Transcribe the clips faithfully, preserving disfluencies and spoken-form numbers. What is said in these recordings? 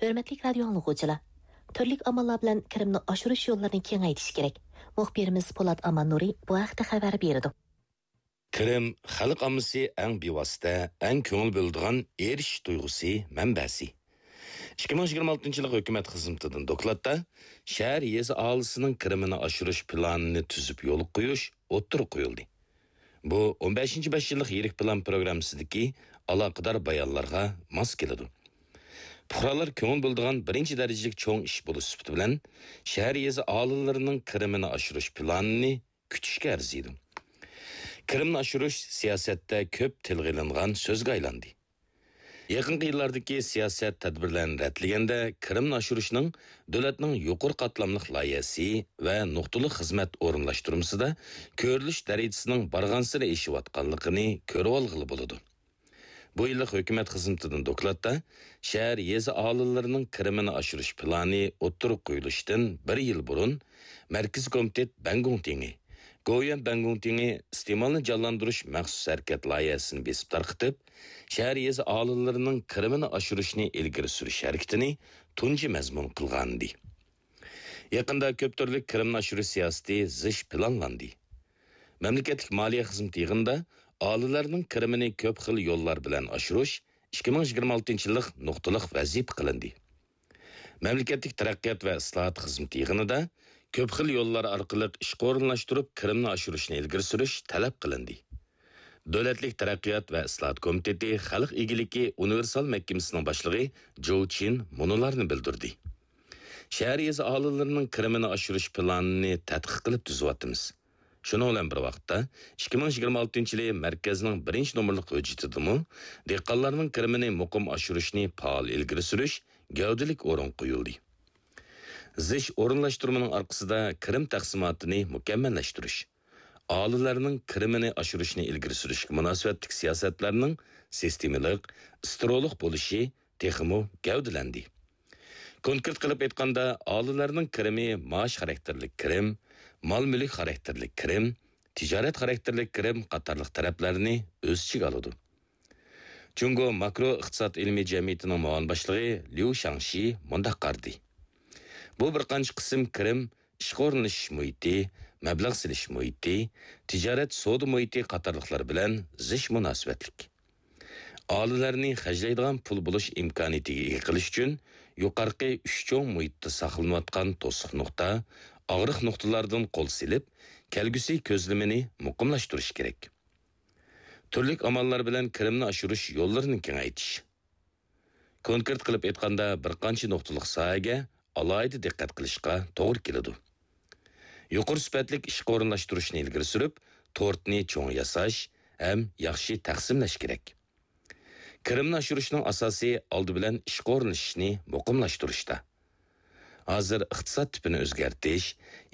ھۆرمەتلىك رادىيو ئاڭلىغۇچىلار، تۈرلۈك ئاماللار بىلەن كىرىمنى ئاشۇرۇش يوللىرىنى كېڭەيتىش كېرەك. مۇخبىرىمىز پولات ئاماننۇرى بۇ ھەقتە خەۋەر بېرىدۇ. كىرىم خەلق ئاممىسى ئەڭ بىۋاسىتە، ئەڭ كۆڭۈل بۆلىدىغان ئېرىشىش تۇيغۇسى مەنبەسى. ئىككى مىڭ يىگىرمە ئالتىنچى يىللىق ھۆكۈمەت خىزمىتىدىن دوكلاتتا شەھەر يېزا ئاھالىسىنىڭ كىرىمىنى ئاشۇرۇش پىلانىنى تۈزۈپ يولغا قويۇش ئوتتۇرىغا قويۇلدى. بۇ ئون بەشىنچى بەش يىللىق يىرىك پىلان پروگراممىسىدىكى ئالاقىدار بايانلارغا ماس كېلىدۇ. پۇقرالار كۆڭۈل بۆلىدىغان بىرىنچى دەرىجىلىك چوڭ ئىش بولۇش سۈپىتى بىلەن، شەھەر يېزا ئاھالىلىرىنىڭ كىرىمىنى ئاشۇرۇش پىلانىنى كۈتۈشكە ئەرزىيدۇ. كىرىمنى ئاشۇرۇش سىياسەتتە كۆپ تىلغا ئېلىنغان سۆزگە ئايلاندى. يېقىنقى يىللاردىكى سىياسەت تەدبىرلەرنى رەتلىگەندە، كىرىمنى ئاشۇرۇشنىڭ دۆلەتنىڭ يۇقىرى قاتلاملىق لايىھەسى ۋە نۇقتىلىق خىزمەت ئورۇنلاشتۇرمىسىدا كۆرۈلۈش دەرىجىسىنىڭ بارغانسېرى ئېشىۋاتقانلىقىنى كۆرۈۋالغىلى بولىدۇ. بۇ يىللىق ھۆكۈمەت خىزمىتىدىن دوكلاتتا شەھەر يېزا ئاھالىلىرىنىڭ كىرىمىنى ئاشۇرۇش پىلانى ئوتتۇرىغا قويۇلۇشتىن بىر يىل بۇرۇن، مەركىزىي كومىتېت بەنگۇڭتىڭى، گوۋۇيۈەن بەنگۇڭتىڭى ئىستېمالنى جانلاندۇرۇش مەخسۇس ھەرىكەت لايىھەسىنى بېسىپ تارقىتىپ، شەھەر يېزا ئاھالىلىرىنىڭ كىرىمىنى ئاشۇرۇشنى ئىلگىرى سۈرۈش ھەرىكىتىنى تۇنجى مەزمۇن قىلغانىدى. يېقىندا كۆپ تۈرلۈك كىرىمنى ئاشۇرۇش سىياسىتى زىچ پىلانلاندى. مەملىكەتلىك مالىيە خىزمىتى يىغىنىدا ئاھالىلەرنىڭ كىرىمىنى كۆپ خىل يوللار بىلەن ئاشۇرۇش ئىككى مىڭ يىگىرمە ئالتىنچى يىللىق نۇقتىلىق ۋەزىپە قىلىندى. مەملىكەتلىك تەرەققىيات ۋە ئىسلاھات خىزمىتى يىغىنىدا كۆپ خىل يوللار ئارقىلىق ئىشقا ئورۇنلاشتۇرۇپ، كىرىمنى ئاشۇرۇشنى ئىلگىرى سۈرۈش تەلەپ قىلىندى. دۆلەتلىك تەرەققىيات ۋە ئىسلاھات كومىتېتى خەلق ئىگىلىكى ئۇنىۋېرسال مەھكىمىسىنىڭ باشلىقى جوۋ چىن مۇنۇلارنى بىلدۈردى. شەھەر يېزا ئاھالىلىرىنىڭ كىرىمىنى ئاشۇرۇش پىلانىنى تەتقىق قىلىپ تۈزۈۋاتىمىز. شۇنىڭ بىلەن بىر ۋاقىتتا، ئىككى مىڭ يىگىرمە ئالتىنچى يىلى مەركەزنىڭ بىرىنچى نومۇرلۇق ھۆججىتىدىمۇ دېھقانلارنىڭ كىرىمىنى مۇقىم ئاشۇرۇشنى پائال ئىلگىرى سۈرۈش گەۋدىلىك ئورۇنغا قويۇلدى. زىچ ئورۇنلاشتۇرمىنىڭ ئارقىسىدا كىرىم تەقسىماتىنى مۇكەممەللەشتۈرۈش، ئاھالىلەرنىڭ كىرىمىنى ئاشۇرۇشنى ئىلگىرى سۈرۈشكە مۇناسىۋەتلىك سىياسەتلەرنىڭ سىستېمىلىق، ئىسترولۇق بولۇشى تېخىمۇ گەۋدىلەندى. كونكرېت قىلىپ ئېيتقاندا، ئاھالىلەرنىڭ كىرىمى مائاش خاراكتېرلىك كىرىم، مال-مۈلۈك خاراكتېرلىك كىرىم، تىجارەت خاراكتېرلىك كىرىم قاتارلىق تەرەپلەرنى ئۆز ئىچىگە ئالىدۇ. جۇڭگو ماكرو ئىقتىساد ئىلمىي جەمئىيىتىنىڭ مۇئاۋىن باشلىقى ليۇ شاڭشى مۇنداق قارىدى: بۇ بىر قانچە قىسىم كىرىم ئىشقا ئورۇنلىشىش مۇھىتى، مەبلەغ سېلىش مۇھىتى، تىجارەت سودا مۇھىتى قاتارلىقلار بىلەن زىچ مۇناسىۋەتلىك. ئاھالىلەرنى خەجلەيدىغان پۇل بولۇش ئىمكانىيىتىگە ئىگە قىلىش ئۈچۈن يۇقىرىقى ئۈچ چوڭ مۇھىتتا ساقلىنىۋاتقان توسۇق نۇقتا، ئاغرىق نۇقتىلاردىن قول سېلىپ، كەلگۈسى كۆزلىمىنى مۇقىملاشتۇرۇش كېرەك. تۈرلۈك ئاماللار بىلەن كىرىمنى ئاشۇرۇش يوللىرىنى كېڭەيتىش. كونكرېت قىلىپ ئېيتقاندا، بىر قانچە نۇقتىلىق ساھەگە ئالاھىدە دىققەت قىلىشقا توغرا كېلىدۇ. يۇقىرى سۈپەتلىك ئىشقا ئورۇنلاشتۇرۇشنى ئىلگىرى سۈرۈپ، تورتنى چوڭ ياساش ھەم ياخشى تەقسىملەش كېرەك. كىرىمنى ئاشۇرۇشنىڭ ئاساسى ئالدى بىلەن ئىشقا ئورۇنلىشىشنى مۇقىملاشتۇرۇشتا. ھازىر ئىقتىساد تىپىنى ئۆزگەرتىش،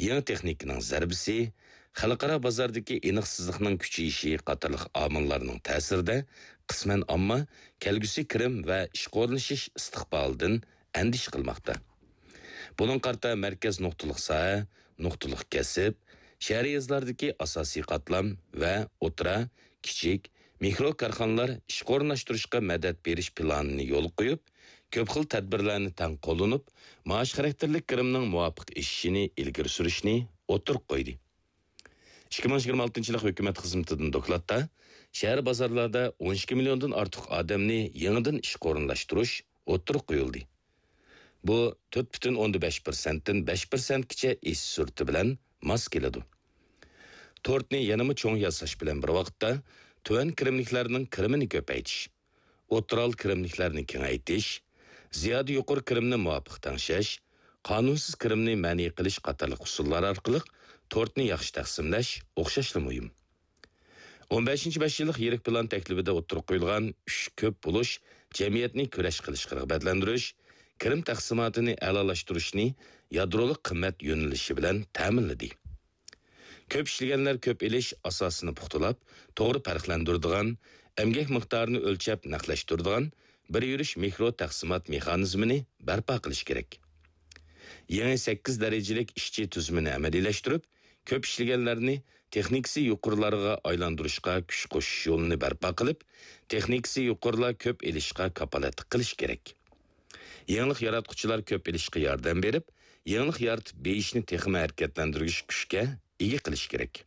يېڭى تېخنىكىنىڭ زەربىسى، خەلقئارا بازاردىكى ئېنىقسىزلىقنىڭ كۈچىيىشى قاتارلىق ئامىللارنىڭ تەسىرىدە قىسمەن ئامما كەلگۈسى كىرىم ۋە ئىشقا ئورۇنلىشىش ئىستىقبالىدىن ئەندىشە قىلماقتا. بۇنىڭغا قارىتا مەركەز نۇقتىلىق ساھە، نۇقتىلىق كەسىپ، شەھەر يېزىلاردىكى ئاساسىي قاتلام ۋە ئوتتۇرا، كىچىك، مىكرو كارخانىلار ئىشقا ئورۇنلاشتۇرۇشقا مەدەت بېرىش پىلانىنى يولغا قويۇپ، كۆپ خىل تەدبىرلەرنى تەڭ قوللىنىپ، مائاش خاراكتېرلىك كىرىمنىڭ مۇۋاپىق ئېشىشىنى ئىلگىرى سۈرۈشنى ئوتتۇرىغا قويدى. ئىككى مىڭ يىگىرمە ئالتىنچى يىللىق ھۆكۈمەت خىزمىتىدىن دوكلاتتا شەھەر بازارلاردا ئون ئىككى مىليوندىن ئارتۇق ئادەمنى يېڭىدىن ئىشقا ئورۇنلاشتۇرۇش ئوتتۇرىغا قويۇلدى. بۇ تۆت پۈتۈن ئوندىن بەش پىرسەنتتىن بەش پىرسەنتكىچە ئېشىش سۈرئىتى بىلەن ماس كېلىدۇ. تورتنى يەنىمۇ چوڭ ياساش بىلەن بىر ۋاقىتتا، تۆۋەن كىرىملىكلەرنىڭ كىرىمىنى كۆپەيتىش، ئوتتۇرا ھال كىرىملىكلەرنى كېڭەيتىش، زىيادە يۇقىرى كىرىمنى مۇۋاپىق تەڭشەش، قانۇنسىز كىرىمنى مەنئى قىلىش قاتارلىق ئۇسۇللار ئارقىلىق تورتنى ياخشى تەقسىملەش ئوخشاشلا مۇھىم. ئون بەشىنچى بەش يىللىق يىرىك پىلان تەكلىپىدە ئوتتۇرىغا قويۇلغان ئۈچ كۆپ بولۇش، جەمئىيەتنى كۈرەشكە رىغبەتلەندۈرۈش، كىرىم تەقسىماتىنى ئەلالاشتۇرۇشنى يادرولۇق قىممەت يۆنىلىشى بىلەن تەمىنلىدى. كۆپ ئىشلىگەنلەر كۆپ ئېلىش ئاساسىنى پۇختىلاپ، توغرا پەرقلەندۈرىدىغان، ئەمگەك مىقدارىنى ئۆلچەپ نەقلەشتۈرىدىغان بىر يۈرۈش مىكرو تەقسىمات مېخانىزمىنى بەرپا قىلىش كېرەك. يېڭى سەككىز دەرىجىلىك ئىشچى تۈزۈمىنى ئەمەلىيلەشتۈرۈپ، كۆپ ئىشلىگەنلەرنى تېخنىكىسى يۇقىرىلارغا ئايلاندۇرۇشقا كۈچ قوشۇش يولىنى بەرپا قىلىپ، تېخنىكىسى يۇقىرىلار كۆپ ئېلىشقا كاپالەتلىك قىلىش كېرەك. يېڭىلىق ياراتقۇچىلار كۆپ ئېلىشقا ياردەم بېرىپ، يېڭىلىق يارىتىپ بېيىشنى تېخىمۇ ھەرىكەتلەندۈرگۈچ كۈچكە ئىگە قىلىش كېرەك.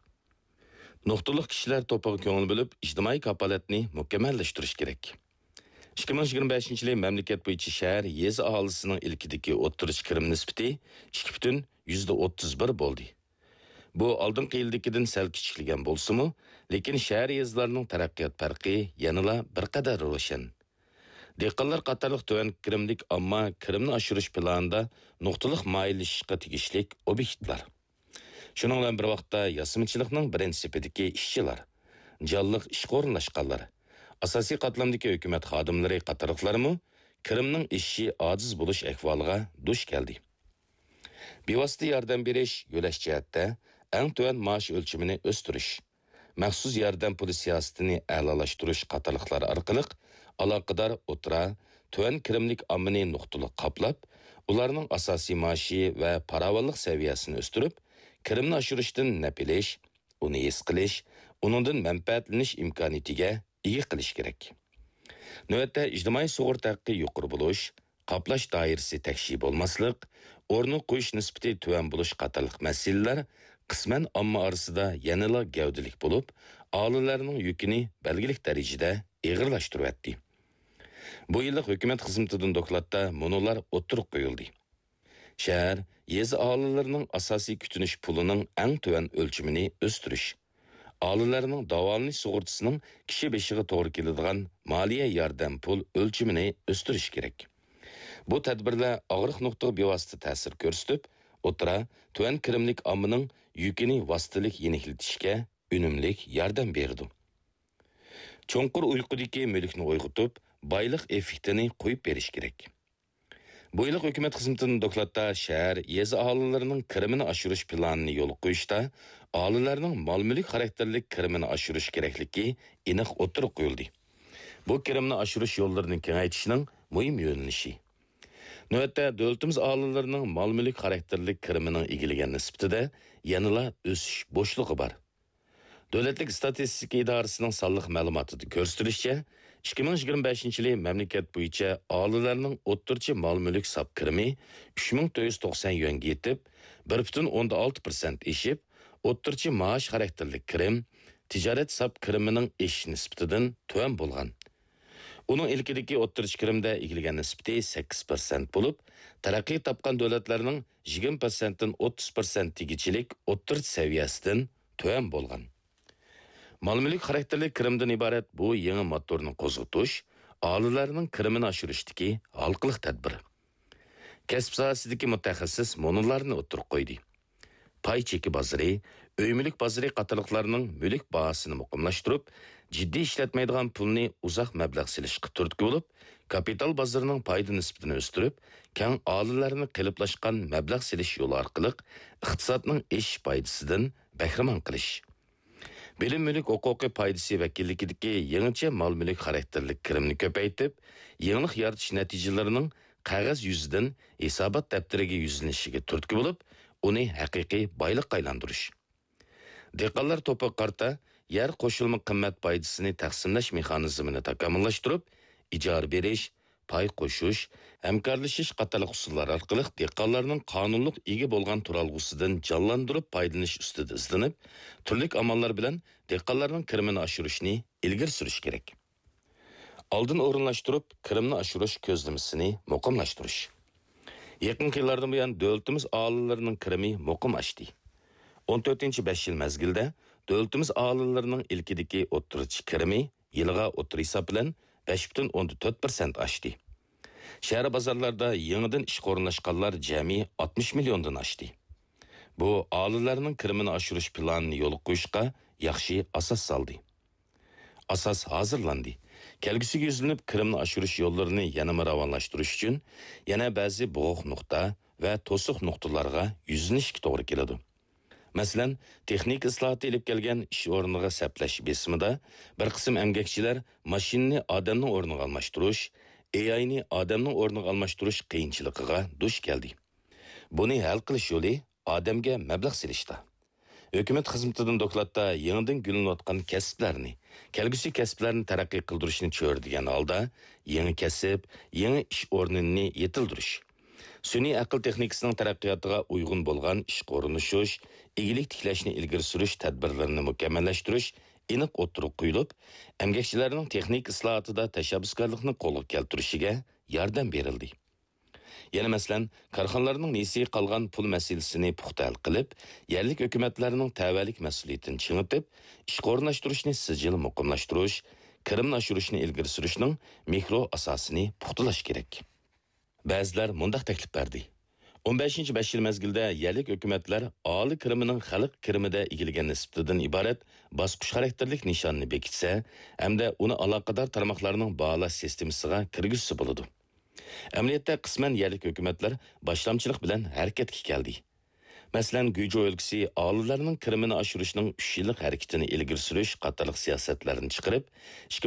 نۇقتىلىق كىشىلەر توپىغا كۆڭۈل بۆلۈپ، ئىجتىمائىي كاپالەتنى مۇكەممەللەشتۈرۈش كېرەك. ئىككى مىڭ يىگىرمە بەشىنچى يىلى مەملىكەت بويىچە شەھەر، يېزا ئاھالىسىنىڭ ئىلكىدىكى ئوتتۇرىچە كىرىم نىسبىتى ئىككى پۈتۈن يۈزدە ئوتتۇز بىر بولدى. بۇ ئالدىنقى يىلدىكىدىن سەل كىچىكلىگەن بولسىمۇ، لېكىن شەھەر، يېزىلارنىڭ تەرەققىيات پەرقى يەنىلا بىر قەدەر روشەن. دېھقانلار قاتارلىق تۆۋەن كىرىملىك ئامما كىرىمنى ئاشۇرۇش پىلانىدا نۇقتىلىق مايىللىشىشقا تېگىشلىك ئوبيېكتلار. شۇنىڭ بىلەن بىر ۋاقىتتا، ياسىمىچىلىقنىڭ بىرىنچى سېپىدىكى ئىشچىلار، جانلىق ئىشقا ئورۇنلاشقانلار، ئاساسىي قاتلامدىكى ھۆكۈمەت خادىملىرى قاتارلىقلارمۇ كىرىمنىڭ ئېشىشى ئاجىز بولۇش ئەھۋالىغا دۇچ كەلدى. بىۋاسىتە ياردەم بېرىش، يۆلەش جەھەتتە ئەڭ تۆۋەن مائاش ئۆلچىمىنى ئۆستۈرۈش، مەخسۇس ياردەم پۇلى سىياسىتىنى ئەلالاشتۇرۇش قاتارلىقلار ئارقىلىق ئالاقىدار ئوتتۇرا، تۆۋەن كىرىملىك ئاممىنى نۇقتىلىق قاپلاپ، ئۇلارنىڭ ئاساسىي مائاشى ۋە پاراۋانلىق سەۋىيەسىنى ئۆستۈرۈپ، كىرىمنى ئاشۇرۇشتىن نەپ ئېلىش، ئۇنى ھېس قىلىش، ئۇنىڭدىن مەنپەئەتلىنىش ئىمكانىيىتىگە ئىگە قىلىش كېرەك. نۆۋەتتە ئىجتىمائىي سۇغۇرتا ھەققى يۇقىرى بولۇش، قاپلاش دائىرىسى تەكشى بولماسلىق، ئورنىغا قويۇش نىسبىتى تۆۋەن بولۇش قاتارلىق مەسىلىلەر قىسمەن ئامما ئارىسىدا يەنىلا گەۋدىلىك بولۇپ، ئاھالىلەرنىڭ يۈكىنى بەلگىلىك دەرىجىدە ئېغىرلاشتۇرۇۋەتتى. بۇ يىللىق ھۆكۈمەت خىزمىتىدىن دوكلاتتا مۇنۇلار ئوتتۇرىغا قويۇلدى. شەھەر، يېزا ئاھالىلىرىنىڭ ئاساسىي كۈتۈنۈش پۇلىنىڭ ئەڭ تۆۋەن ئۆلچىمىنى ئۆستۈرۈش. ئاھالىلەرنىڭ داۋالىنىش سۇغۇرتىسىنىڭ كىشى بېشىغا توغرا كېلىدىغان مالىيە ياردەم پۇل ئۆلچىمىنى ئۆستۈرۈش كېرەك. بۇ تەدبىرلەر ئاغرىق نۇقتىغا بىۋاسىتە تەسىر كۆرسىتىپ، ئوتتۇرا، تۆۋەن كىرىملىك ئاممىنىڭ يۈكىنى ۋاسىتىلىك يېنىكلىتىشكە ئۈنۈملۈك ياردەم بېرىدۇ. چوڭقۇر ئۇيقۇدىكى مۈلۈكنى ئويغىتىپ، بايلىق ئېففېكتىنى قويۇپ بېرىش كېرەك. بۇ يىللىق ھۆكۈمەت خىزمىتىدىن دوكلاتتا شەھەر، يېزا ئاھالىلىرىنىڭ كىرىمىنى ئاشۇرۇش پىلانىنى يولغا قويۇشتا ئاھالىلەرنىڭ مال-مۈلۈك خاراكتېرلىك كىرىمىنى ئاشۇرۇش كېرەكلىكى ئېنىق ئوتتۇرىغا قويۇلدى. بۇ كىرىمنى ئاشۇرۇش يوللىرىنى كېڭەيتىشنىڭ مۇھىم يۆنىلىشى. نۆۋەتتە دۆلىتىمىز ئاھالىلىرىنىڭ مال-مۈلۈك خاراكتېرلىك كىرىمىنىڭ ئىگىلىگەن نىسبىتىدە يەنىلا ئۆسۈش بوشلۇقى بار. دۆلەتلىك ئىستاتىستىكا ئىدارىسىنىڭ سانلىق مەلۇماتىدا كۆرسىتىلىشىچە، ئىككى مىڭ يىگىرمە بەشىنچى يىلى مەملىكەت بويىچە ئاھالىلەرنىڭ ئوتتۇرىچە مال-مۈلۈك ساپ كىرىمى ئۈچ مىڭ تۆت يۈز توقسان يۈەنگە يېتىپ، بىر پۈتۈن ئوندىن ئالتە پىرسەنت ئېشىپ، ئوتتۇرىچە مائاش خاراكتېرلىك كىرىم، تىجارەت ساپ كىرىمىنىڭ ئېشىش نىسبىتىدىن تۆۋەن بولغان. ئۇنىڭ ئىلكىدىكى ئوتتۇرىچە كىرىمدە ئىگىلىگەن نىسبىتى سەككىز پىرسەنت بولۇپ، تەرەققىي تاپقان دۆلەتلەرنىڭ يىگىرمە پىرسەنتتىن ئوتتۇز پىرسەنت تېگىچىلىك ئوتتۇرىچە سەۋىيەسىدىن تۆۋەن بولغان. مال-مۈلۈك خاراكتېرلىك كىرىمدىن ئىبارەت بۇ يېڭى موتورنى قوزغىتىش ئاھالىلەرنىڭ كىرىمىنى ئاشۇرۇشتىكى ھالقىلىق تەدبىر. كەسىپ ساھەسىدىكى مۇتەخەسسىس مۇنۇلارنى ئوتتۇرىغا قويدى. پاي چېكى بازىرى، ئۆي مۈلۈك بازىرى قاتارلىقلارنىڭ مۈلۈك باھاسىنى مۇقىملاشتۇرۇپ، جىددىي ئىشلەتمەيدىغان پۇلنى ئۇزاق مەبلەغ سېلىشقا تۈرتكە بولۇپ، كاپىتال بازىرىنىڭ پايدا نىسبىتىنى ئۆستۈرۈپ، كەڭ ئاھالىلەرنى قېلىپلاشقان مەبلەغ سېلىش يولى ئارقىلىق ئىقتىسادنىڭ ئېشىش پايدىسىدىن بەھرىمەن قىلىش. بىلىم مۈلۈك ھوقۇقى پايدىسى ۋەكىللىكىدىكى يېڭىچە مال-مۈلۈك خاراكتېرلىك كىرىمنى كۆپەيتىپ، يېڭىلىق يارىتىش نەتىجىلىرىنىڭ قەغەز يۈزىدىن ھېسابات دەپتىرىگە يۈزلىنىشىگە تۈرتكە بولۇپ، ئۇنى ھەقىقىي بايلىققا ئايلاندۇرۇش. دېھقانلار توپىغا قارىتا يەر قوشۇلما قىممەت پايدىسىنى تەقسىملەش مېخانىزمىنى تاكامۇللاشتۇرۇپ، ئىجارە بېرىش، پاي قوشۇش، ھەمكارلىشىش قاتارلىق ئۇسۇللار ئارقىلىق دېھقانلارنىڭ قانۇنلۇق ئىگە بولغان تۇرالغۇسىدىن جانلاندۇرۇپ پايدىلىنىش ئۈستىدە ئىزدىنىپ، تۈرلۈك ئاماللار بىلەن دېھقانلارنىڭ كىرىمىنى ئاشۇرۇشنى ئىلگىرى سۈرۈش كېرەك. ئالدىن ئورۇنلاشتۇرۇپ، كىرىمنى ئاشۇرۇش كۆزلىمىسىنى مۇقىملاشتۇرۇش. يېقىنقى يىللاردىن بۇيان دۆلىتىمىز ئاھالىلىرىنىڭ كىرىمى مۇقىم ئاشتى. ئون تۆتىنچى بەش يىل مەزگىلدە دۆلىتىمىز ئاھالىلىرىنىڭ ئىلكىدىكى ئوتتۇرىچە كىرىمى يىلىغا ئوتتۇرا ھېساب بىلەن بەش پۈتۈن ئوندىن تۆت پىرسەنت ئاشتى. شەھەر بازارلاردا يېڭىدىن ئىشقا ئورۇنلاشقانلار جەمئىي ئاتمىش مىليوندىن ئاشتى. بۇ ئاھالىلەرنىڭ كىرىمىنى ئاشۇرۇش پىلانىنى يولغا قويۇشقا ياخشى ئاساس سالدى. ئاساس ھازىرلاندى. كەلگۈسىگە يۈزلىنىپ، كىرىمنى ئاشۇرۇش يوللىرىنى يەنىمۇ راۋانلاشتۇرۇش ئۈچۈن يەنە بەزى بوغۇق نۇقتا ۋە توسۇق نۇقتىلارغا يۈزلىنىشكە توغرا كېلىدۇ. مەسىلەن، تېخنىكا ئىسلاھاتى ئېلىپ كەلگەن ئىش ئورنىغا سەپلەش بېسىمىدا بىر قىسىم ئەمگەكچىلەر ماشىنىنى ئادەمنىڭ ئورنىغا ئالماشتۇرۇش، ئېئاينى ئادەمنىڭ ئورنىغا ئالماشتۇرۇش قىيىنچىلىقىغا دۇچ كەلدى. بۇنى ھەل قىلىش يولى ئادەمگە مەبلەغ سېلىشتا. ھۆكۈمەت خىزمىتىدىن دوكلاتتا يېڭىدىن گۈللىنىۋاتقان كەسىپلەرنى، كەلگۈسى كەسىپلەرنى تەرەققىي قىلدۇرۇشنى چۆرىدىگەن ھالدا يېڭى كەسىپ، يېڭى ئىش ئورنىنى يېتىلدۈرۈش، سۈنئىي ئەقىل تېخنىكىسىنىڭ تەرەققىياتىغا ئۇيغۇن بولغان ئىشقا ئورۇنلىشىش، ئىگىلىك تىكلەشنى ئىلگىرى سۈرۈش تەدبىرلىرىنى مۇكەممەللەشتۈرۈش ئېنىق ئوتتۇرىغا قويۇلۇپ، ئەمگەكچىلەرنىڭ تېخنىكا ئىسلاھاتىدا تەشەببۇسكارلىقنى قولغا كەلتۈرۈشىگە ياردەم بېرىلدى. يەنە مەسىلەن، كارخانىلارنىڭ نېسىگە قالغان پۇل مەسىلىسىنى پۇختا ھەل قىلىپ، يەرلىك ھۆكۈمەتلەرنىڭ تەۋەلىك مەسئۇلىيىتىنى چىڭىتىپ، ئىشقا ئورۇنلاشتۇرۇشنى سىجىل مۇقىملاشتۇرۇش، كىرىمنى ئاشۇرۇشنى ئىلگىرى سۈرۈشنىڭ مىكرو ئاساسىنى پۇختىلاش كېرەك. بەزىلەر مۇنداق تەكلىپ بەردى: ئون بەشىنچى بەش يىل مەزگىلدە يەرلىك ھۆكۈمەتلەر ئاھالە كىرىمىنىڭ خەلق كىرىمىدە ئىگىلىگەن نىسبىتىدىن ئىبارەت باسقۇچ خاراكتېرلىك نىشاننى بېكىتسە ھەمدە ئۇنى ئالاقىدار تارماقلارنىڭ باھالاش سىستېمىسىغا كىرگۈزسە بولىدۇ. ئەمەلىيەتتە قىسمەن يەرلىك ھۆكۈمەتلەر باشلامچىلىق بىلەن ھەرىكەتكە كەلدى. مەسىلەن، گۇيجۇ ئۆلكىسى ئاھالىلەرنىڭ كىرىمىنى ئاشۇرۇشنىڭ ئۈچ يىللىق ھەرىكىتىنى ئىلگىرى سۈرۈش قاتارلىق سىياسەتلەرنى چىقىرىپ، ئىككى مىڭ